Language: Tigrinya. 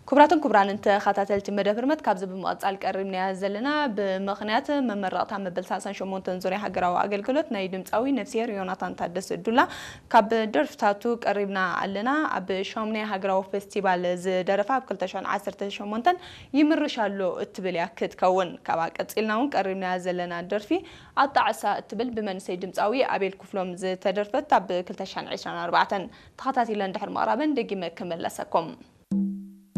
ክቡራትን ክቡራንን ተኸታተልቲ መደብ ህርመት፣ ካብዚ ብምቕጻል ቀሪብናያ ዘለና፣ ብምኽንያት መመረቕታ መበል ሰላሳን ሸሞንተን ዙርያ ሃገራዊ ኣገልግሎት ናይ ድምጻዊ ነፍስሄር ዮናታን ታደሰ ዱላ ካብ ደርፍታቱ ቀሪብና ኣለና። ኣብ ሻሙናይ ሃገራዊ ፌስቲቫል ዝደረፋ፣ ኣብ ክልተ ሽሕን ዓሰርተ ሸሞንተን ይምርሽ ኣሎ እትብል እያ ክትከውን። ካብኣ ቀጺልና እውን ቀሪብናያ ዘለና ደርፊ ኣጣዕሳ እትብል ብመንእሰይ ድምጻዊ ኣቤል ክፍሎም ዝተደርፈት፣ ኣብ ክልተ ሽሕን ዕስራን ኣርባዕተን። ተኸታቲለ እንድሕር ምቕራበን ደጊመ ክመለሰኩም።